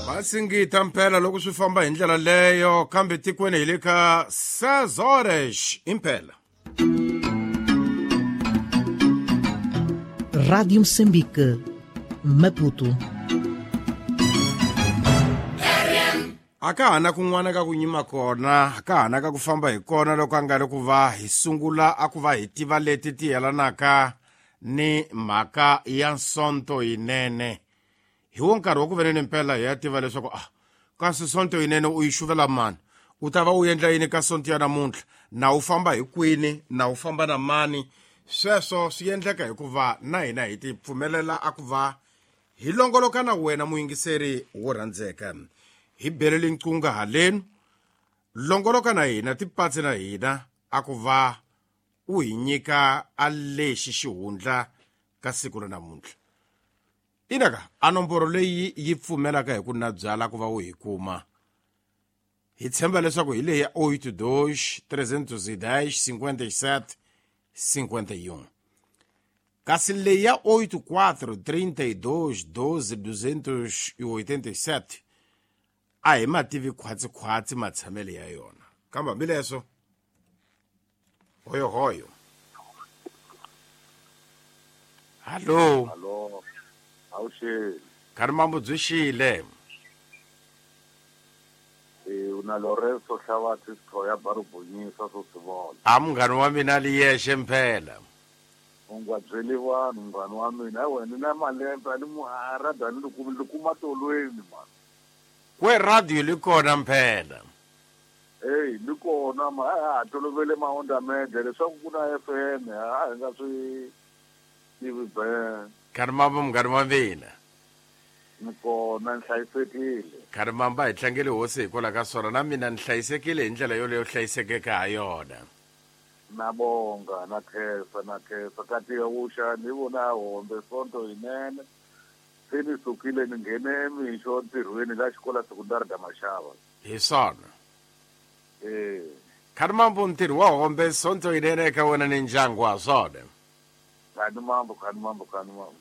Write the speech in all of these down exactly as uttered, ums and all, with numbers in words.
Vasingita mpela loko swi famba hi ndlela leyo kambe tikweni hi le ka Sezores impela. Rádio Moçambique, Maputo. A ka ha na kun'wana ka ku nyima kona, a ka ha na ka ku famba hi kona loko a nga ri ku va hi sungula a ku va hi tiva leti ti yelanaka ni mhaka ya Sonto yinene. Hi wo nkarhi wa ku venene mpela hi ya tiva leswaku ah kasi Sonto yinene u yi xuvela mani, u ta va u endla yini ka Sonto ya namuntlha, na u famba hi kwini, na u famba na mani. Sweswo swi endleka hikuva na hina hi ti pfumelela a ku va hi longoloka na wena muyingiseri wo rhandzeka. Hi belele nqunga haleni, longoloka na hina, tipatsi na hina, a ku va u hi nyika a lexi xihundla ka siku ra namuntlha. Inaka a nomboro leyi yi pfumelaka hi ku na byala ku va u hi kuma. Hi tshemba leswaku hi leyi ya oito dois trezentos e dez cinquenta e sete cinquenta e um. Kasi leyi ya oito quatro trinta e dois doze duzentos e oitenta e sete a hi mativi khwatsi-khwatsi matshamele ya yona. Kambe hambileswo hoyohoyo. Hallo. Hallo. Awuxile. Khani mambo byi xile. Eh una Lorenzo Hlavatsi Sithoya Barubonyisa swo swi vona. A munghana wa mina li yexe mpela. U nga byeli vanhu munghana wa mina, a wena na malembe a ni mu a radio ni kuma ni kuma tolweni man. Kwe radio li kona mpela. Hey, li kona ma a tolovele ma onda media leswaku ku na F M a hi nga swi tivi be. Khani mambo munghana wa mina. Ni kona ni hlayisekile. Khani mamba hi tlangele hosi hikwalaho ka swona na mina ni hlayisekile hi ndlela yoleyo hlayisekeke ha yona. Na bonga na khensa na khensa ka tiya vuxa ni vona hombe Sonto yinene. Se ni sukile ni nghene mixo ntirhweni la xikola sekundari da Mashava. Hi swona. Eh. Khani mambo ntirho wa hombe Sonto yinene eka wena ni ndyangu wa swona. Khani mambo khani mambo khani mambo.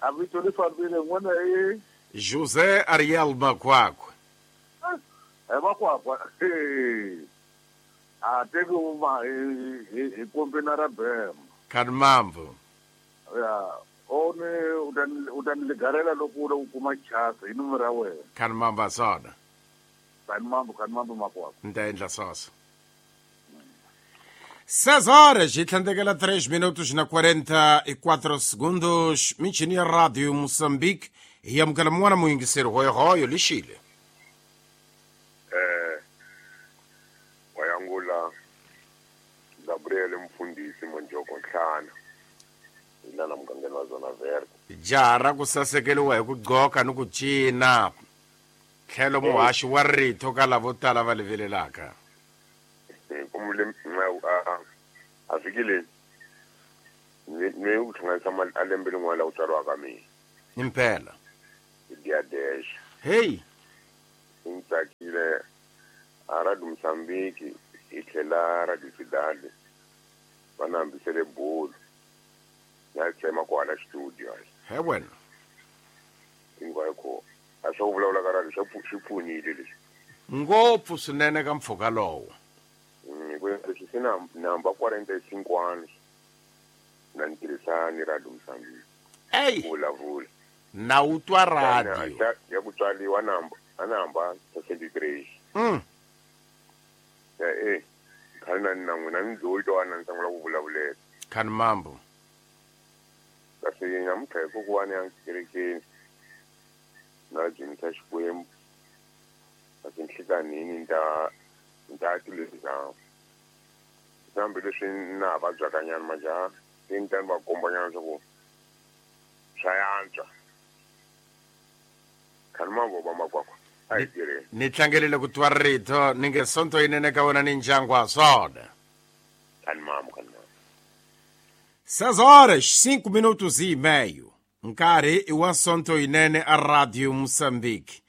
A vito ri fambile n'wana i José Ariel Makwakwa. Eh Makwakwa. A teki uma hi hi kombina ra bema. Khani mambo. Ya one u ta u ta ni ligarela loko u kuma chance hi nomoro ya wena. Khani mambo swona. Khani mambo khani mambo Makwakwa. Ni ta endla sweswo. Seis horas e tlhandlekela três minutos na quarenta e quatro segundos. Michini ya Rádio Moçambique. Hi amukela mun'wana muyingiseri hoyohoyo lixile. Eh wayangula Gabriel Mfundisi Monjoko Nhlana. Ilana mugangeni wa Zona Verde. Jaha ra ku sasekeriwa hi ku gqoka ni ku cina. Tlhelo muhaxi wa rito ka lavo tala va livelelaka. Kumule a fikile ni u hlanganisa mali a lembe rin'wana la ku tswariwa ka mina. Impela. Dia dez. Hey. Ni tsakile a Radio Moçambique hi tlhela Radio Cidade va na hambisele bolo na tsema kwala studio. He wena. Hinkwayo ko a swo vulavula ka radio swi swi pfunile leswi. Ngopfu swinene ka mpfhuka lowo. Leswi se na namba quarenta e cinco anos na ni tirhisa ni Radio Moçambique. Ey. Vulavula. Na u twa radio. Ya ku tswariwa namba a namba sessenta e três. Mm. Ya eh khale na na n'wina ni dzoyi to ana ni sungula ku vulavulela. Khani mambo. Kasi namuntlha hikokwani ya kerekeni na dzunisa Xikwembu. Kasi nhlikanhini ni ta ni ta tilwisa. Hambi leswi na ha vabyaka nyana majaha se ni ta ni va kombanyana leswaku swa yantswa. Khani mambo va Makwakwa a hi tirheni. Ni tlangelile ku twa rito ni nge Sonto yinene ka wena ni ndyangu wa swona. Khani mambo khani mambo. Seis horas cinco minutos e meio. Nkarhi i wa Sonto yinene a Radio Moçambique.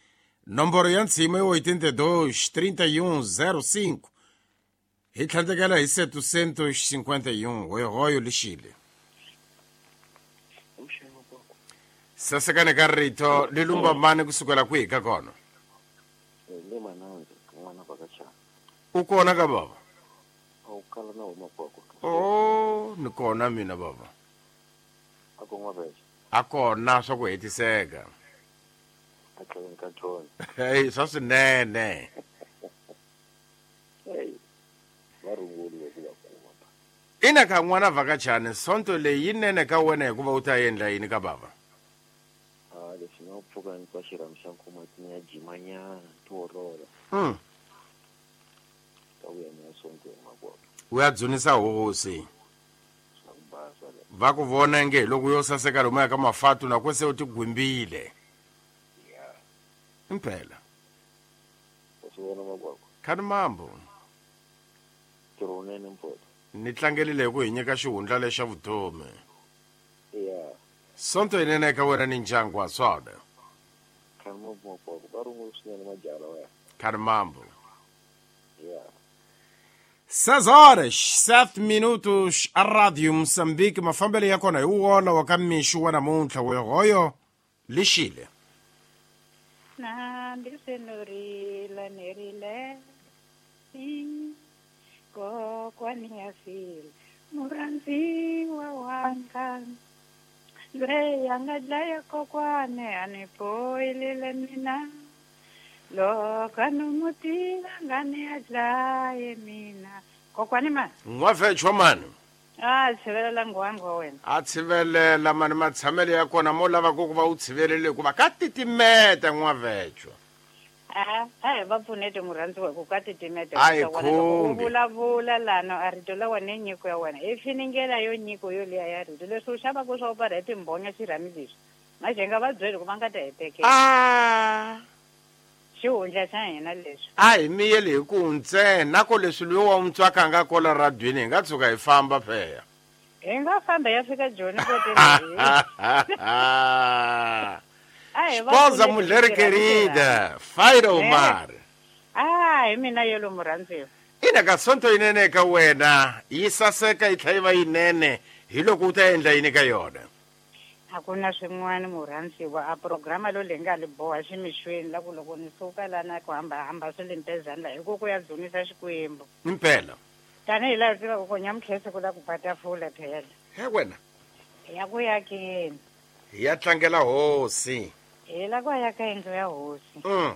Nomboro ya ntshima i oitenta e dois trinta e um zero cinco. Hi tlhandlekela hi setecentos cinquenta e um hoyohoyo lixile. Sasekane ka rito li lumba mani kusukela kwihi ka kona? Le mananzi n'wana vhakachana. U kona ka baba? A wu kala na huma kwako. Oh, ni kona mina baba. A ku n'wa vexe. A kona swa ku hetiseka. A tlhela ka John. Hey, swa swinene. Hey. Va runguli ku va kuma. Ina ka n'wana vhakachana sonto leyi yinene ka wena hikuva u ta endla yini ka baba? Ah, leswi nga pfuka ni twa xirhami xa nkuma ti ya jimanyana ti wolola. Mm. Ta vuya ni ya sontweni makwako. U ya dzunisa hosi. Swa ku basa le. Va ku vona nge loko yo saseka lomu ya ka mafatu na ko se u ti gwimbile. Ya. Impela. U swi vona makwako. Khani mambo. Ntirho wunene mfowethu. Ni tlangelile hi ku hi nyika xihundla lexa vutomi. Ya. Sonto yinene ka wena ni ndyangu wa swona. Khani mambo makwako va rungula swinene majaha lawa. Khani mambo. Ya. Seis horas, sete minutos, a Rádio Moçambique, mafambelo ya kona hi wona wa ka mixo wa namuntlha wehoyo lixile. Nambi senorile nerile kokwani ya file murhandziwa wanga loyi a nga dlaya kokwane a ni poyilile mina loko a ni n'wi tiva nga ni a dlaye mina kokwani mani n'wavhechwa mani a tshivelela nghwangwa wa wena a tshivelela mani matshamelo ya kona mo lava ku va u tshivelele hikuva ka titimeta n'wavhechwa a a hi va pfunete murhandziwa hi ku ka titimeta A hi u khumbi. vulavula lano a rito la wena i nyiko ya wena i finingela yo nyiko yo liya ya rito leswi u xavaka swa u parha hi timbhonya xirhami lexi maxenga va byeli ku va nga ta hi tekela a xihundla xa hina leswi a hi miyeli hi ku ntsena ko leswi loyi wa n'wi nga kola radweni hi nga tshuka hi famba pheya hi nga famba ya fika joni koteni a hi va Esposa pfuneti mulher xirhami querida Faira Omar a hi mina yelo murhandziwa ina ka sonto yinene ka wena yi saseka yi tlhela yi va yinene hi loko u ta endla yini ka yona a ku na swin'wana murhandziwa a programa lo leyi nga li boha ximixweni la ku loko ni suka lana ku hambahamba swi le mpezani la hi ku ku ya dzunisa xikwembu impela tanihi laha u tivaka ku nyamutlhese ku la ku ba tafula phela he wena ya ku yakeni hi ya tlangela hosi hi la ku ya ka yindlu ya hosi mm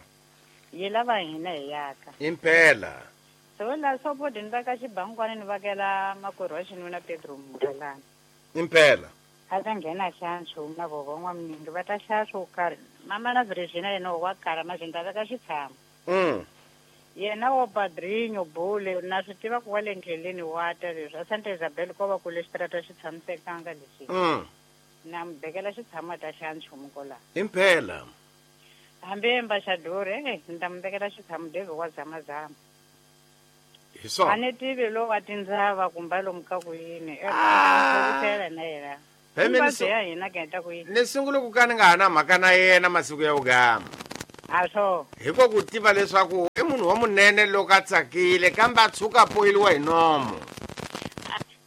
yi lava hina hi yaka impela so la sopodi ni veka xibankwani ni vakela makwerhu wa xinuna Pedro Murelani impela a ta nghena xa nchumu na vovo n'waminingi va ta xava swo karhi mama na Virginia yena wa kala mazwi ni ta veka xitshamo mm yena wo Padrinho Bule na swi tiva ku wa le ndleleni wa ta leswi a Santa Isabel ko va ku le xitarata xi tshamisekanga lexi mm na mi bekela xitshamo a ta xa nchumu kwalaho impela hambi embaxador e ni ta mi vekela xitshamo David wa zamazama hi a swona ni tivi lo wa tindzava kumbe lomu ka ku yini Ah. ela na yena Phela ni Hinkwabyo so- ya hina ka heta ku yini ni sungule ku ka ni nga ha na mhaka na yena masiku ya vugama a swo hi ko ku tiva leswaku i munhu wa munene loko a tsakile kambe a tshuka a poyiliwa hi nomo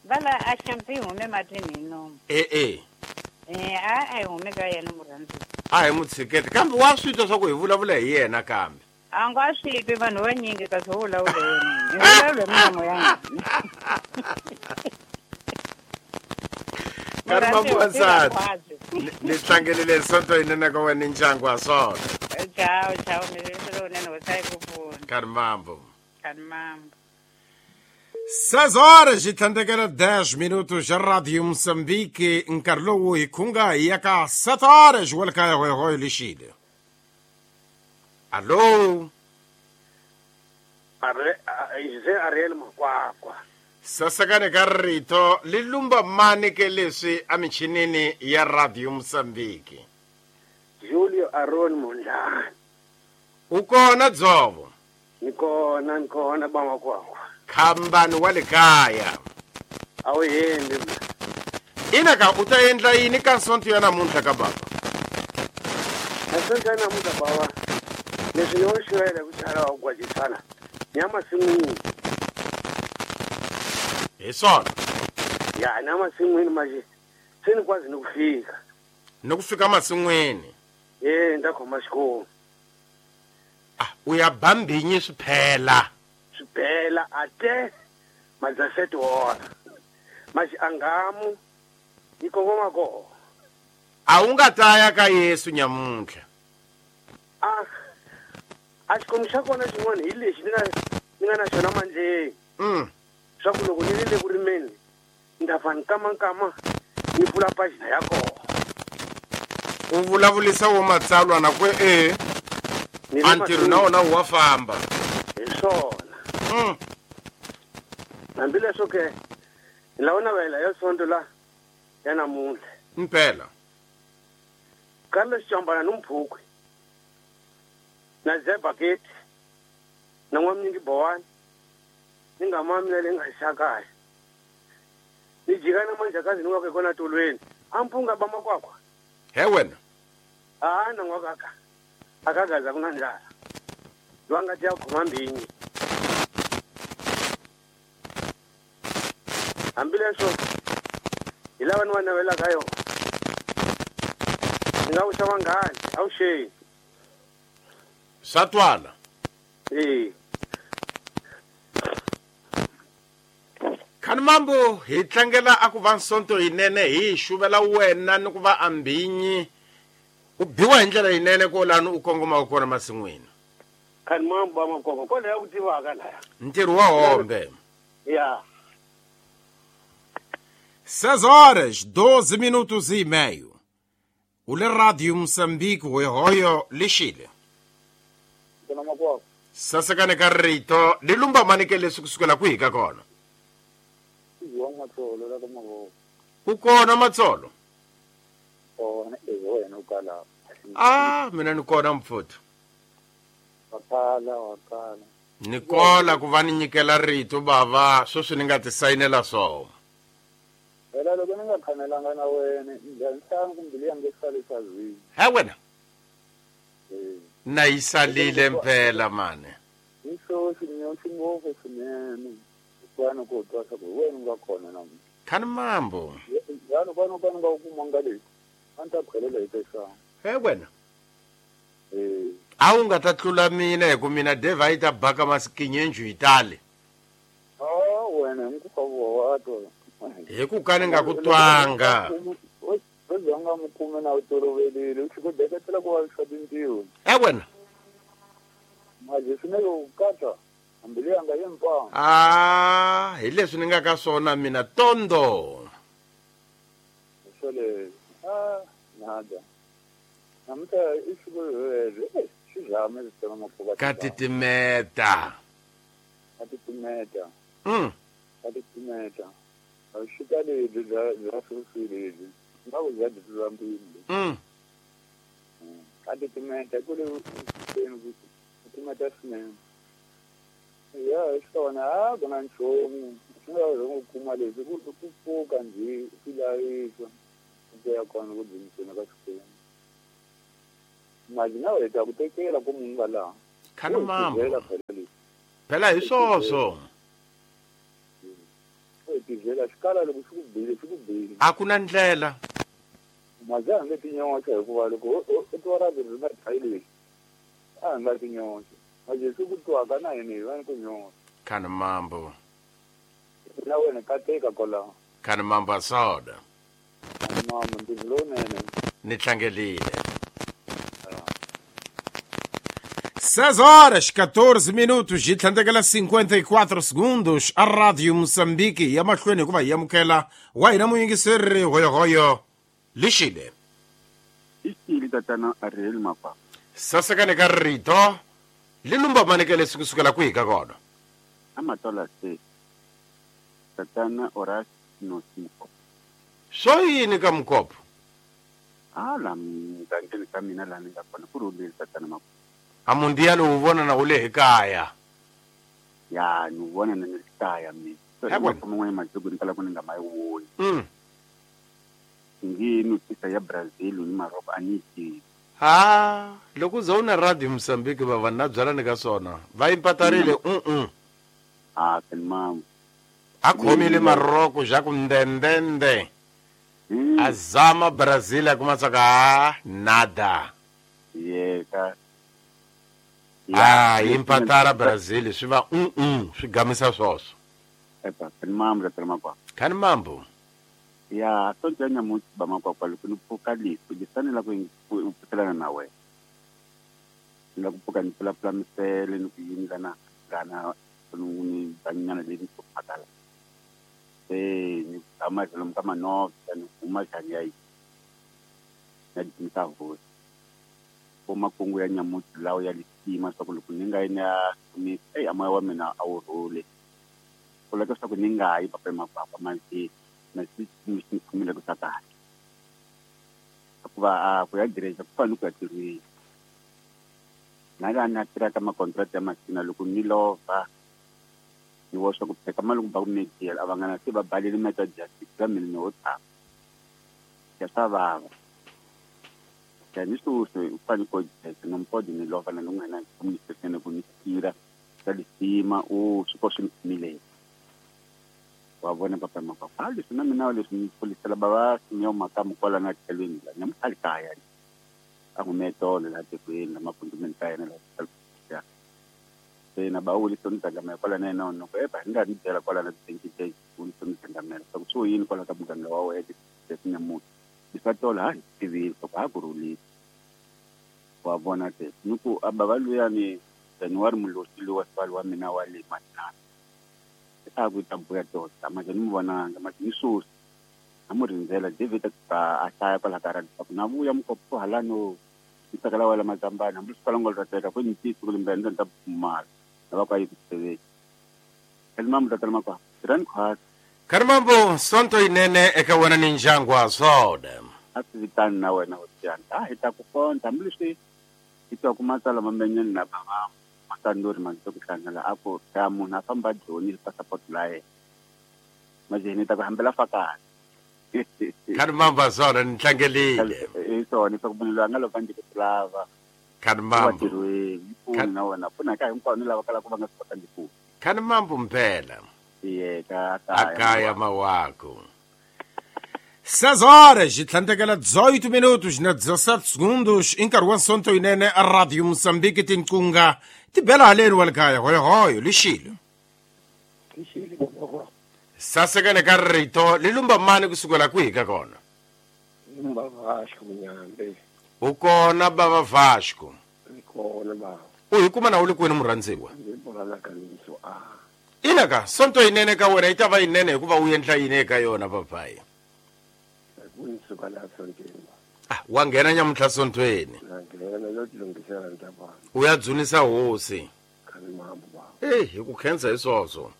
va la a xampi yi hume matini hi nomu e-e e a a yi hume ka yena murhandziwa a hi mu tshiketi kambe wa swi twa swa ku hi vulavula hi yena kambe a nga swi twi vanhu vanyingi kasi ho vulavula hi yena hi vulavula hi milomo ya hina Nkarhi Murhandziwa, mabuwansati. tiva Ni- ni tlangelile sonto yinene ka wena ni ndyangu wa swona Ciao, ciao, mi lowunene hosi a yi ku pfuna nkarhi mambo kani mambo Seis horas e tlhandlekela dez minutos xa Radio Moçambique nkarhi lowu hi khunga hi ya ka sete horas wa le kaya hoyihoyi lexile allo Are, a, Jose Ariel Makwakwa. sasekane ka rito li lumba mani ke leswi emichinini ya Radio Moçambique Julio Aron Mondlane. u kona dzovo Ni kona ni kona ba Makwakwa. khambani wa le kaya A wu hembi mna. ina ka u ta endla yini ka sonto ya namuntlha ka baba Nasonto ya namuntlha bava leswi ni wo xwela ku chala wa gwajisana ni ya masin'wini hi swona ya ni ya masin'wini manje se ni kwazi ni ku fika Ni ku fika masin'wini. Eh nda khoma xikomu. Ah u ya bambinyi swiphela. Swiphela ate mazaseti wona. Maji angamu ikongoma ko. A wu nga ta ya ka Yesu nyamuntlha. Ah a xikomu xa kona xin'wana hi lexi ni nga ni nga na xona mandleni. Mm. Swa ku loko ni ri le ku rimeni nda fa nkama nkama ni pfula pagina ya kona. U vulavulisa wo matsalwa na ku e a ntirho na wona wa famba. Hi swona. Mm. Hambileswo ke ni lava navela ya sonto la ya namuntlha. Mpela. Carlos Chambana ni Mphukwe na Zé Baketi na n'wamnyingi Bowani ni nga mami na le nga xakaya ni jika na manjakazi ni wa kona tolweni a mpunga ba makwakwa. He wena. A na n'wakaka akagaza kuna ndlala lwanga tya khoma mbinyi hambileswo hi lava ni va navelaka yona ni nga vuxa vanghani avuxeni. Swa twala. Eh. Khani mambo hi tlangela a ku va nsonto yinene hi xuvela wena ni ku va ambinyi u biwa hi ndlela yinene ko lani u kongomaka kona masin'wini. Khani mambo ba makoko kona ya ku tivaka laya. Ntirho wa hombe. Ya. Seis horas, doze minutos e meio. U le Radio Moçambique hoyohoyo lixile. Sasekane ka rito li lumba manike leswi kusukela kwihi ka kona? Ku kona Matsolo? Ah, mina ni kona mfuthu. Ni kola ku va ni nyikela rito bava sweswi ni nga ti sayinela swona. Phela loko ni nga khanelanga na wena njhani kumbe leyi nge salisa zwini. He wena. Na yi salile mpela mane. Hi swo xinyoxi ngopfu swinene. Kwana ku twa swa ku wena u nga kona na mina. Khani mambo. Njhani kwana kwana nga ku kuma nga leyi. A ni ta khwelela hi pesa. He wena. Eh. A wu nga ta tlula mina hi ku mina Dave a yi ta baka masikinyenju yi tale. Ah wena hi ku wa twa. Hi ku ka ni nga ku twanga. O zonga mukume na u tolovelile u ku deketela ku va swa tintiho. E wena. Maje swinene u katsa hambi leyi nga yimpa. Ah, hi leswi ni nga ka swona mina tondo. Swole ah nada. Namuntlha i siku leri xizame xi makuva. Ka titimeta. Ka titimeta. Mm. Ka titimeta. Xika lebyi bya bya sweswi lebyi nga ku bya bya mpimo. Mm. Ka titimeta ku le ku titimeta swinene. Ya swona a ku na nchumu swi nga ri ku kuma leswi ku ku pfuka njhe swi lavisa ku ya kona ku dzuniseni ka Xikwembu. Mali na wena ku tekela ku munhu nga laha. Khani mambo. Phela hi swoswo. Tizela xikala loko xi ku bile xi ku bile. A ku na ndlela. Majaha nge tinyoxa hikuva loko u twa ra ri nga dlayi lexi a nga tinyoxa. Maje swi ku twaka na hina hi va ni ku nyoxa. Khani mambo. Na wena kateka kwalaho. Khani mambo a soda. Khani mambo ntirho lowunene. Ni tlangelile. seis horas, quatorze minutos, yi tlhandlekela cinquenta e quatro segundos. A Radio Moçambique ya mahlweni hikuva hi amukela wa hina muyingiseri hoyohoyo lixile. Ixile tatana Ariel Mapa. Sasekane ka rito li lumba maneke leswi kusukela kwihi ka kona? Amatola se. Tatana Horace Nosiko. Swo yini ka Mukopho? Ah la mugangeni ka mina laha ni nga kona ku rhulile tatana Mapa. A mundial u vona na u le hi kaya. Ya ni vona na ni kaya mina. Man'wana masiku ni kala ku ni nga ma yi voni. Mm. Ngi notisa ya Brazil ni Morocco a ni tivi. Ha, loko za u na Radio Mozambique va va na byala ni ka swona. Va impatarile mm mm. Ah, mambo. A khomile Morocco ja ku ndendende. Azama Brazil kuma tsaka nada. Yeka. Ah, impatara Brazil swi va mm mm swi gamisa swoswo. Epa, kan mambo la makwa. Kan mambo. Ya, sonto nya mutu ba makwa kwa loko ni pfuka lifu, lifanele ku pfukelana na wena. La ku pfuka ni pfula pfula misele ni ku yinga na gana ni banyana le ni phakala. Eh, ni ama lo mkama no, ni uma chanya yi. Na dinta ho. Ko makungu ya nyamutu lawo ya lisima swa ku loko ni nga ina ni eh ama wa mina a wu rhule. Ku leka swa ku ni nga yi papa makwakwa manje na swi swi khumile ku saka. Ku va a ku ya direja ku fanele ku ya tirhweni. Na la na tirha ka ma-contract ya masina loko ni lova ni wo swa ku pheka mali ku ba ku mejela a va nga na se va balele meta justice ka mina ni wo tshama. Ya swa vava. Ya ni sweswi u fanele ku jeka no mpodi ni lova na loko na communication ku ni tirha ka lisima u swi ko swi ni khumile. Wa vona papa makwakwa a leswi na mina leswi ni pfulisela bava simeyo makamu kwala na tlhelweni la nyamutlha le kaya a humetolo la tikweni la mapundu ka yena la ya se na ba uli soni tsangamela kwala na yena no epa ni nga ni byela kwala na twenty days uli soni tsangamela swa ku swi yini kwala ka muganga wa wena leswi nyamutlha leswi tolo ha tivile swa ku ha ku rhulile wa vona te ni ku a bava luyani January mulosi lowa sivali wa mina wa le manana a ku ta buya tota manje ni mu vonanga manje ni sweswi a mu rindzela David a hlaya kwala ka radio ku na vuya mukopfu halano ni tsakela wela mazambani hambi swi kwala ngo ra teka ku ni tisi ku limbe ni ta pfumala na va ku a yi ku tiveki Kalimambo tatala makwa rani khwasa Kalimambo sonto yinene eka wena ni ndyangu wa swona a swi vitani na wena hosiyana a hi ta ku konta hambi leswi hi twa ku matsalwa mamenyeni na bava matandori manto ku hlangana a ku ta munhu a famba joni hi passport la yena manje ni ta ku hambela fakana Kalimambo swona ni tlangelile i swona swa ku munhu loyi a nga lova ndzi ku lava Kalimambo tirhweni pfuna na wena pfuna ka hinkwavo ni lava kalaka va nga swi kota ndi pfuna Kalimambo mpela yeka akaya mawako seis horas e tlhandlekela dezoito minutos na dezessete segundos em nkarhi wa sonto yinene a Radio Moçambique tinqunga ti bela haleni wa le kaya hoyohoyo lixilo sasekele ka rito li lumba mani kusukela kwihi ka kona lumba Vasco Munyambe u kona bava Vasco kona bava u hi kuma na u le kwini murhandziwa ina ka sonto yinene ka wena yi ta va yinene hikuva u endla yini eka yona papayi ah wa nghena nyamuntlha sontweni u ya dzunisa hosi e hi ku khensa hi swoswo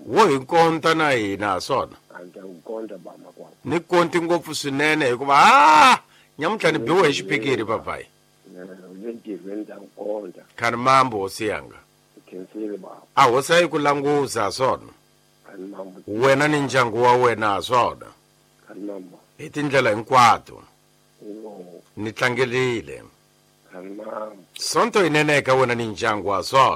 wo hi konta na hina swona ni konti ngopfu swinene hikuva a nyamuntlha ni biwe hi xipikiri papayi khani mambo hosi yanga a hosi a yi ku languza swona wena ni ndyangu wa wena swona hi tindlela hinkwato ni tlangelile sonto yinene eka wena ni ndyangu wa swona.